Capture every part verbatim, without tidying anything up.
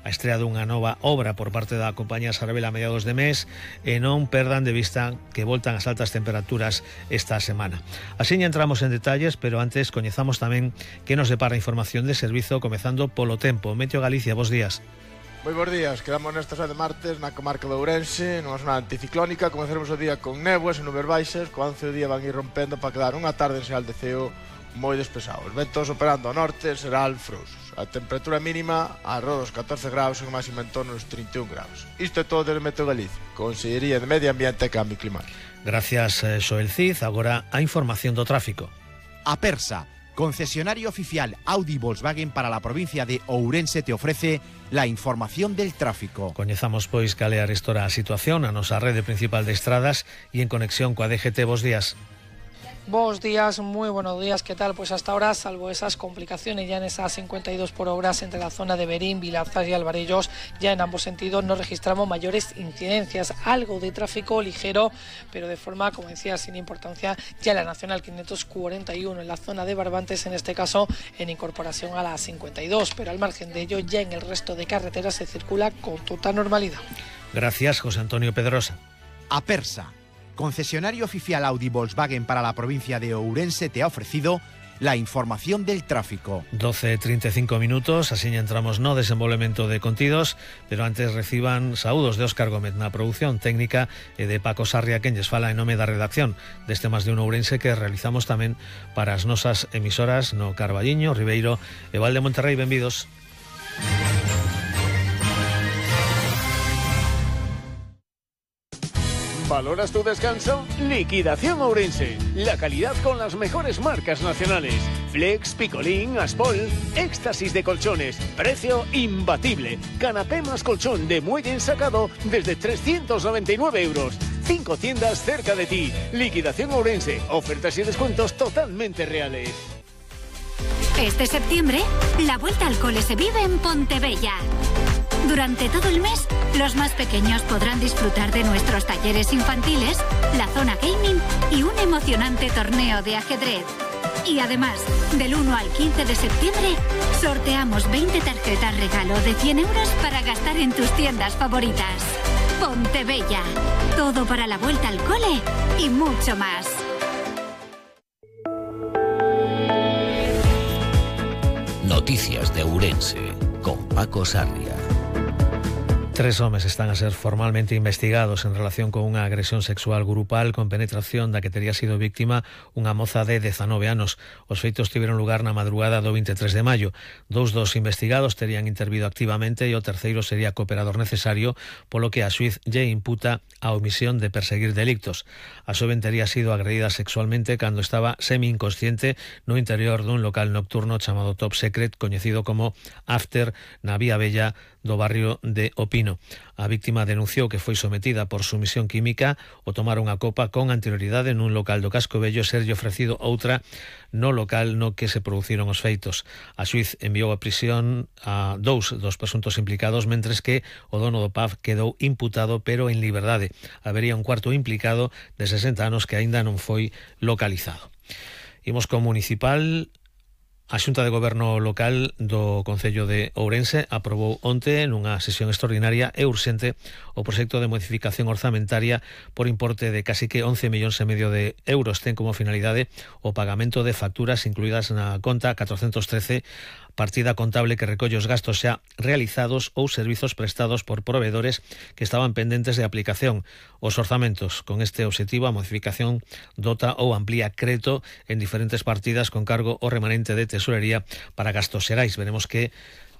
a estrea dunha nova obra por parte da compañía Sarabel a mediados de mes e non perdan de vista que voltan as altas temperaturas esta semana. Así entramos en detalles, pero antes coñezamos tamén que nos depara información de servizo comezando polo tempo. Meteo Galicia, bos días. Moi bons días, quedamos nesta xa de martes na comarca de Ourense, nunha zona anticiclónica. Comezaremos o día con néboas e nubes baixas, co avance do día van ir rompendo para quedar unha tarde en Seal de Ceo moi despexado. Os ventos operando ao norte serán frouxos. A temperatura mínima arroda os catorce graus e o máximo en torno aos trinta e un graus. Isto é todo desde Meteo Galicia, Consellería de Medio Ambiente e Cambio Climático. Gracias, Xoel Cid. Agora a información do tráfico. Apersa, concesionario oficial Audi Volkswagen para la provincia de Ourense, te ofrece la información del tráfico. Coñezamos pois cal é a restora a situación a nosa rede principal de estradas e en conexión coa D G T. Bos días. Buenos días, muy buenos días, ¿qué tal? Pues hasta ahora, salvo esas complicaciones ya en esas cincuenta y dos por horas entre la zona de Berín, Vilazas y Alvarellos, ya en ambos sentidos no registramos mayores incidencias, algo de tráfico ligero, pero de forma, como decía, sin importancia, ya en la Nacional quinientos cuarenta y uno en la zona de Barbantes, en este caso en incorporación a la cincuenta y dos, pero al margen de ello, ya en el resto de carreteras se circula con total normalidad. Gracias, José Antonio Pedrosa. Apersa, concesionario oficial Audi Volkswagen para la provincia de Ourense, te ha ofrecido la información del tráfico. doce e trinta e cinco minutos, así entramos no desenvolvemento de contidos, pero antes reciban saúdos de Óscar Gómez na produción técnica e de Paco Sarria, quen lles fala en nome da redacción deste Más de un Ourense que realizamos tamén para as nosas emisoras no Carballiño, Ribeiro e Val de Monterrey. Benvidos. ¿Valoras tu descanso? Liquidación Ourense. La calidad con las mejores marcas nacionales. Flex, Picolín, Aspol. Éxtasis de colchones. Precio imbatible. Canapé más colchón de muelle ensacado desde trescientos noventa y nueve euros. Cinco tiendas cerca de ti. Liquidación Ourense. Ofertas y descuentos totalmente reales. Este septiembre, la vuelta al cole se vive en Pontebella. Durante todo el mes, los más pequeños podrán disfrutar de nuestros talleres infantiles, la zona gaming y un emocionante torneo de ajedrez. Y además, del uno al quince de septiembre, sorteamos veinte tarjetas regalo de cien euros para gastar en tus tiendas favoritas. Pontebella, todo para la vuelta al cole y mucho más. Noticias de Ourense, con Paco Sarria. Tres homes están a ser formalmente investigados en relación con unha agresión sexual grupal con penetración da que tería sido víctima unha moza de dezanove anos. Os feitos tiveron lugar na madrugada do veintitrés de maio. Dous dos investigados terían intervido activamente e o terceiro sería cooperador necesario, polo que a xuíz lle imputa a omisión de perseguir delictos. A xoven tería sido agredida sexualmente cando estaba semi-inconsciente no interior dun local nocturno chamado Top Secret, coñecido como After, na Vía Bella do barrio de Opino. A víctima denunciou que foi sometida por sumisión química o tomar unha copa con anterioridade nun local do Casco Vello e serlle ofrecido outra no local no que se produciron os feitos. A xuíz enviou a prisión a dous dos presuntos implicados, mentres que o dono do pub quedou imputado pero en liberdade. Habería un cuarto implicado de sesenta anos que aínda non foi localizado. Imos co municipal. A Xunta de Goberno Local do Concello de Ourense aprobou onte nunha sesión extraordinaria e urxente o proxecto de modificación orzamentaria por importe de casi que once millóns e medio de euros. Ten como finalidade o pagamento de facturas incluídas na conta catrocentos trece, partida contable que recolle os gastos xa realizados ou servizos prestados por proveedores que estaban pendentes de aplicación. Os orzamentos con este obxectivo, a modificación dota ou amplía crédito en diferentes partidas con cargo ao remanente de tesorería para gastos xerais. Veremos que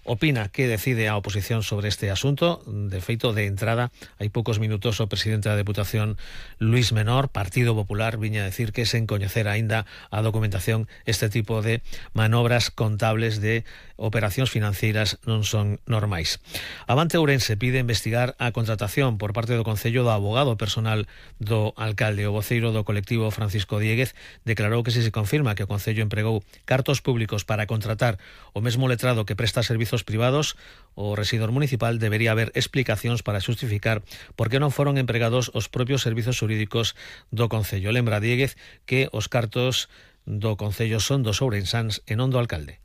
opina, que decide a oposición sobre este asunto. De feito, de entrada, hai poucos minutos o presidente da Deputación, Luís Menor, Partido Popular, viña a decir que sen coñecer aínda a documentación este tipo de manobras contables de operacións financeiras non son normais. Avante Ourense pide investigar a contratación por parte do Concello do abogado personal do alcalde. O voceiro do colectivo, Francisco Dieguez, declarou que se se confirma que o Concello empregou cartos públicos para contratar o mesmo letrado que presta servizos privados, o rexidor municipal debería haber explicacións para xustificar por que non foron empregados os propios servizos xurídicos do Concello. Lembra Dieguez que os cartos do Concello son dos ourensáns e non do alcalde.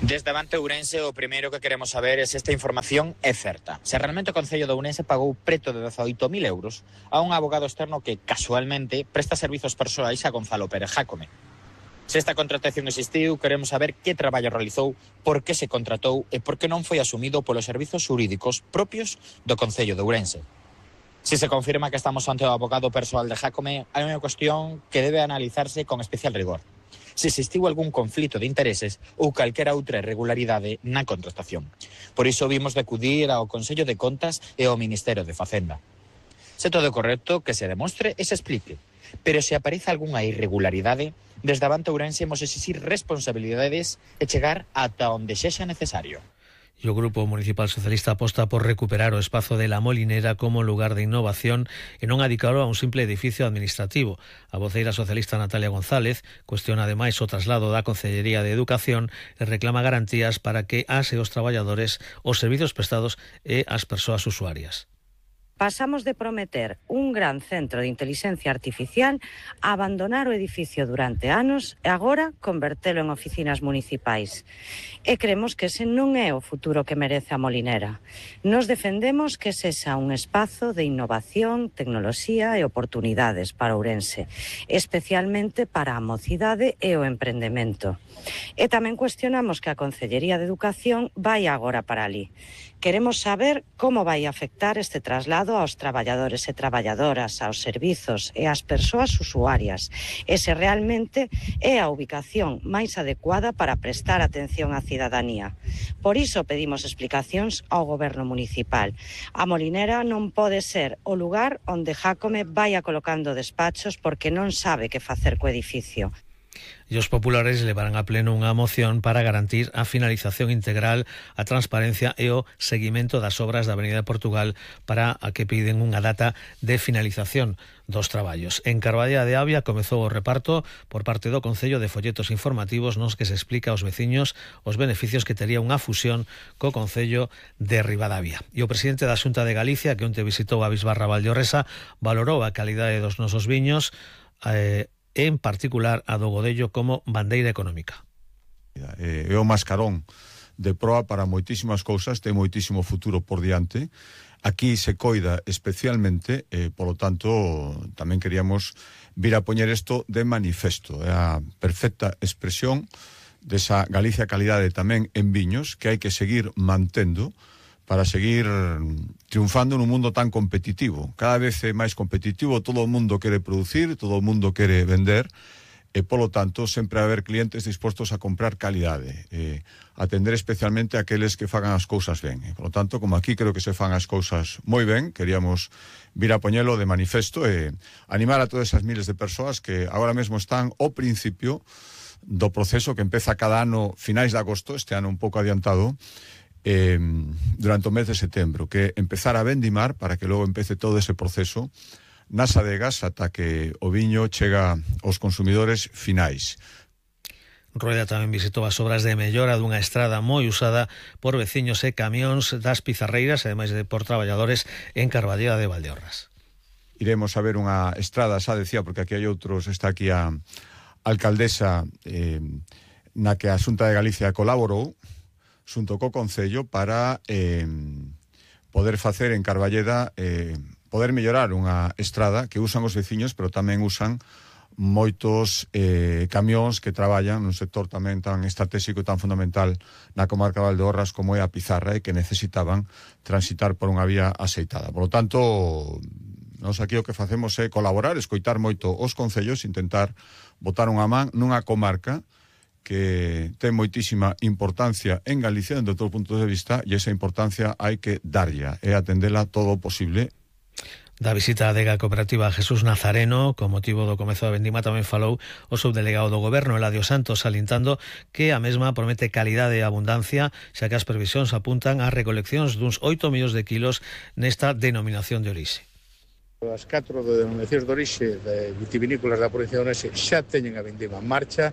Desde Avante Ourense o primeiro que queremos saber é se esta información é certa. Se realmente o Concello de Ourense pagou preto de dezaoito mil euros a un abogado externo que, casualmente, presta servizos persoais a Gonzalo Pérez Jácome. Se esta contratación existiu, queremos saber que traballo realizou, por que se contratou e por que non foi asumido polos servizos xurídicos propios do Concello de Ourense. Se se confirma que estamos ante o abogado persoal de Jácome, hai unha cuestión que debe analizarse con especial rigor. Se existiu algún conflito de intereses ou calquera outra irregularidade na contratación. Por iso vimos de acudir ao Consello de Contas e ao Ministerio de Facenda. Se todo é correcto, que se demostre e se explique. Pero se aparece algunha irregularidade, desde Avante Ourense imos exixir responsabilidades e chegar ata onde sexa necesario. E o Grupo Municipal Socialista aposta por recuperar o espazo de La Molinera como lugar de innovación e non adicalo a un simple edificio administrativo. A voceira socialista Natalia González cuestiona ademais o traslado da Consellería de Educación e reclama garantías para que as e os traballadores, os servizos prestados e as persoas usuarias. Pasamos de prometer un gran centro de inteligencia artificial a abandonar o edificio durante anos e agora convertelo en oficinas municipais. E cremos que ese non é o futuro que merece a Molinera. Nos defendemos que sexa un espazo de innovación, tecnoloxía e oportunidades para Ourense, especialmente para a mocidade e o emprendemento. E tamén cuestionamos que a Consellería de Educación vai agora para ali. Queremos saber como vai afectar este traslado aos traballadores e traballadoras, aos servizos e ás persoas usuarias, e se realmente é a ubicación máis adecuada para prestar atención á cidadanía. Por iso pedimos explicacións ao Goberno municipal. A Molinera non pode ser o lugar onde Jácome vaia colocando despachos porque non sabe que facer co edificio. E os populares levarán a pleno unha moción para garantir a finalización integral, a transparencia e o seguimento das obras da Avenida de Portugal, para a que piden unha data de finalización dos traballos. En Carballeda de Avia comezou o reparto por parte do Concello de folletos informativos nos que se explica aos veciños os beneficios que tería unha fusión co Concello de Ribadavia. E o presidente da Xunta de Galicia, que onte visitou a Bisbarra Valdeorresa, valorou a calidade dos nosos viños, eh, en particular a do Godello como bandeira económica. É o mascarón de proa para moitísimas cousas, ten moitísimo futuro por diante. Aquí se coida especialmente, e, polo tanto, tamén queríamos vir a poñer isto de manifesto. É a perfecta expresión desa Galicia calidade tamén en viños, que hai que seguir mantendo para seguir triunfando nun mundo tan competitivo. Cada vez é máis competitivo, todo o mundo quere producir, todo o mundo quere vender, e, polo tanto, sempre vai haber clientes dispostos a comprar calidade, e atender especialmente a aqueles que fagan as cousas ben. E, polo tanto, como aquí creo que se fan as cousas moi ben, queríamos vir a poñelo de manifesto e animar a todas esas miles de persoas que agora mesmo están ao principio do proceso que empeza cada ano finais de agosto, este ano un pouco adiantado, Eh, durante o mes de setembro, que empezar a vendimar para que logo empece todo ese proceso nas adegas ata que o viño chega aos consumidores finais. Rueda tamén visitou as obras de mellora dunha estrada moi usada por veciños e camións das Pizarreiras, ademais de por traballadores en Carballeda de Valdeorras. Iremos a ver unha estrada, xa decía, porque aquí hai outros, está aquí a alcaldesa eh, na que a Xunta de Galicia colaborou xunto co Concello para eh, poder facer en Carballeda, eh, poder mellorar unha estrada que usan os veciños, pero tamén usan moitos eh, camións que traballan nun sector tamén tan estratégico e tan fundamental na comarca de Valdeorras como é a Pizarra, e que necesitaban transitar por unha vía aceitada. Por lo tanto, nós aquí o que facemos é colaborar, escoitar moito os concellos, intentar botar unha man nunha comarca que ten moitísima importancia en Galicia dentro de todo punto de vista, e esa importancia hai que darlla e atendela todo o posible. Da visita á adega cooperativa Jesús Nazareno, con motivo do comezo da vendima, tamén falou o subdelegado do Goberno, Eladio Santos, salientando que a mesma promete calidade e abundancia, xa que as previsións apuntan a recoleccións duns oito millóns de kilos nesta denominación de orixe. As catro denominacións de orixe de vitivinícolas da provincia de Ourense xa teñen a vendima en marcha,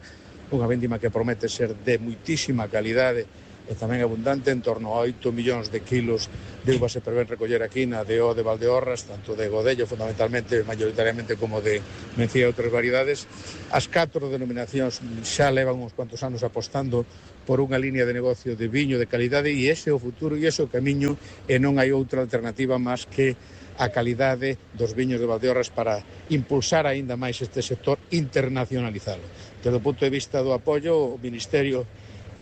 unha vendima que promete ser de moitísima calidade e tamén abundante, en torno a oito millóns de kilos de uvas se prevén recoller aquí na D O de Valdeorras, tanto de Godello fundamentalmente, mayoritariamente, como de Mencía e outras variedades. As catro denominacións xa levan uns cuantos anos apostando por unha línea de negocio de viño de calidade, e ese é o futuro e ese é o camiño, e non hai outra alternativa máis que a calidade dos viños de Valdeorras para impulsar aínda máis este sector, internacionalizado. Desde o punto de vista do apoio, o Ministerio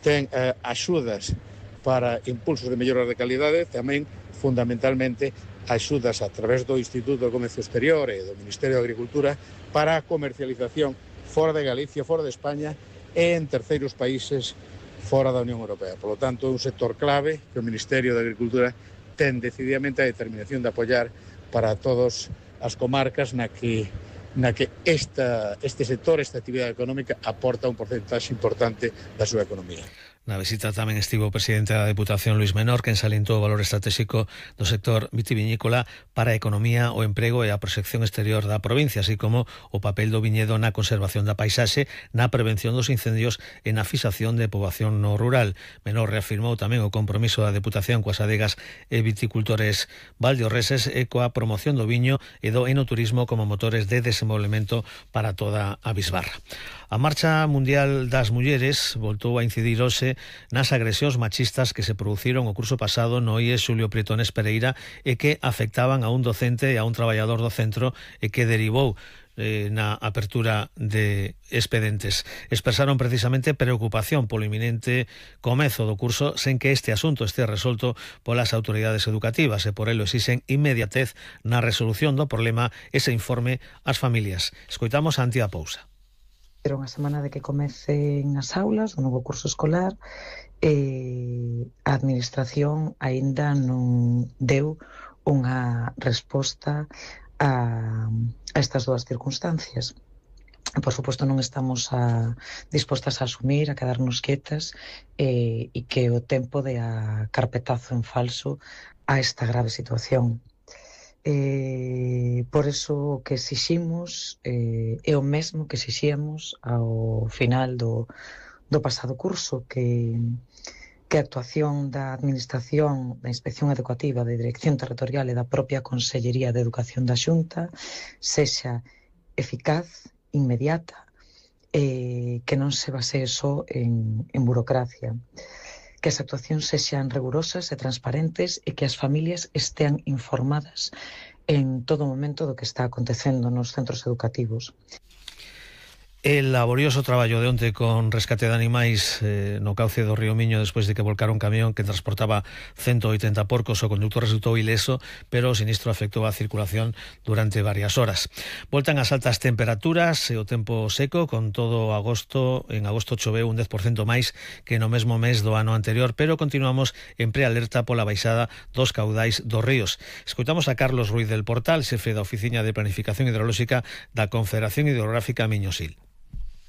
ten eh, axudas para impulsos de melloras de calidade, tamén fundamentalmente axudas a través do Instituto de Comercio Exterior e do Ministerio de Agricultura para a comercialización fora de Galicia, fora de España e en terceiros países fora da Unión Europea. Por lo tanto, é un sector clave que o Ministerio de Agricultura ten decididamente a determinación de apoiar para todas as comarcas na que na que esta, este sector, esta actividade económica, aporta un porcentaxe importante da súa economía. Na visita tamén estivo o presidente da Deputación, Luis Menor, que ensalentou o valor estratégico do sector vitivinícola para a economía, o emprego e a proxección exterior da provincia, así como o papel do viñedo na conservación da paisaxe, na prevención dos incendios e na fixación de poboación no rural. Menor reafirmou tamén o compromiso da Deputación coas adegas e viticultores valdeorreses e coa promoción do viño e do enoturismo como motores de desenvolvemento para toda a bisbarra. A Marcha Mundial das Mulleres voltou a incidir hoxe nas agresións machistas que se produciron o curso pasado no I E S Xulio Prietones Pereira e que afectaban a un docente e a un traballador do centro e que derivou eh, na apertura de expedientes. Expresaron precisamente preocupación polo inminente comezo do curso sen que este asunto este resolto polas autoridades educativas e por elo exixen inmediatez na resolución do problema ese informe ás familias. Escoitamos a Antía Pousa. Pero unha semana de que comecen as aulas, o novo curso escolar, e a Administración aínda non deu unha resposta a, a estas dúas circunstancias. Por suposto, non estamos a, dispostas a asumir, a quedarnos quietas e, e que o tempo de a carpetazo en falso a esta grave situación. Eh, por eso o que exiximos eh, é o mesmo que exixíamos ao final do, do pasado curso, que, que a actuación da Administración, da Inspección Educativa, da Dirección Territorial e da propia Consellería de Educación da Xunta sexa eficaz, inmediata, eh, que non se basee só en, en burocracia, que as actuacións sexan rigurosas e transparentes e que as familias estean informadas en todo momento do que está acontecendo nos centros educativos. El laborioso traballo de onte con rescate de animais eh, no cauce do río Miño despois de que volcara un camión que transportaba ciento oitenta porcos, o conductor resultou ileso, pero o sinistro afectou a circulación durante varias horas. Voltan as altas temperaturas e o tempo seco, con todo agosto, en agosto choveu un dez por cento máis que no mesmo mes do ano anterior, pero continuamos en prealerta pola baixada dos caudais dos ríos. Escoitamos a Carlos Ruiz del Portal, xefe da Oficina de Planificación Hidrolóxica da Confederación Hidrográfica Miño-Sil.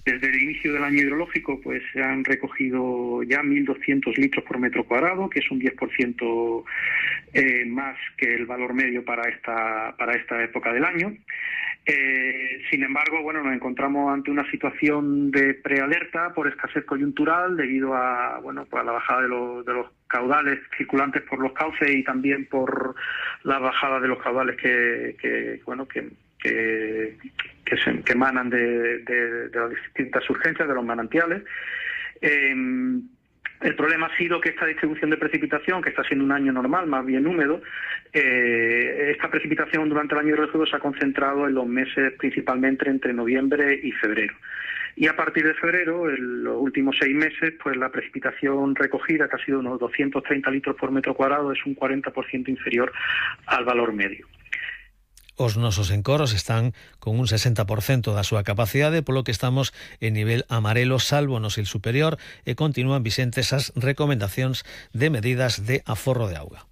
Desde el inicio del año hidrológico pues se han recogido ya mil doscientos litros por metro cuadrado, que es un diez por ciento eh, más que el valor medio para esta, para esta época del año. Eh, sin embargo, bueno, nos encontramos ante una situación de prealerta por escasez coyuntural debido a, bueno, pues a la bajada de los, de los caudales circulantes por los cauces y también por la bajada de los caudales que, que bueno, que que, que, se, que emanan de, de, de las distintas urgencias de los manantiales. Eh, el problema ha sido que esta distribución de precipitación, que está siendo un año normal, más bien húmedo, eh, esta precipitación durante el año hidrológico se ha concentrado en los meses principalmente entre noviembre y febrero. Y a partir de febrero, en los últimos seis meses, pues la precipitación recogida, que ha sido unos doscientos treinta litros por metro cuadrado, es un cuarenta por ciento inferior al valor medio. Os nosos encoros están con un sesenta por cento da súa capacidade, polo que estamos en nivel amarelo, salvo no sil superior, e continúan vixentes as recomendacións de medidas de aforro de auga.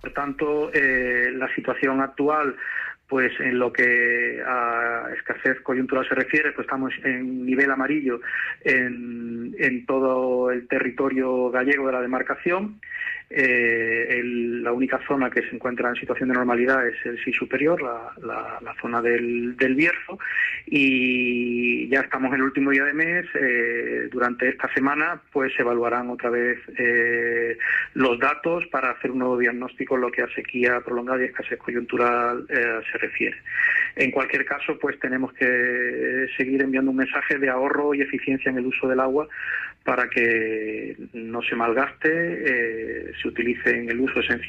Por tanto, eh, la situación actual, pues en lo que a escasez coyuntural se refiere, pues estamos en nivel amarillo en, en todo el territorio gallego de la demarcación. Eh, el, la única zona que se encuentra en situación de normalidad es el S I superior, la, la, la zona del, del Bierzo, y ya estamos en el último día de mes. Eh, durante esta semana pues se evaluarán otra vez eh, los datos para hacer un nuevo diagnóstico en lo que a sequía prolongada y escasez coyuntural eh, se refiere. En cualquier caso, pues tenemos que seguir enviando un mensaje de ahorro y eficiencia en el uso del agua para que no se malgaste, eh, se utilice en el uso esencial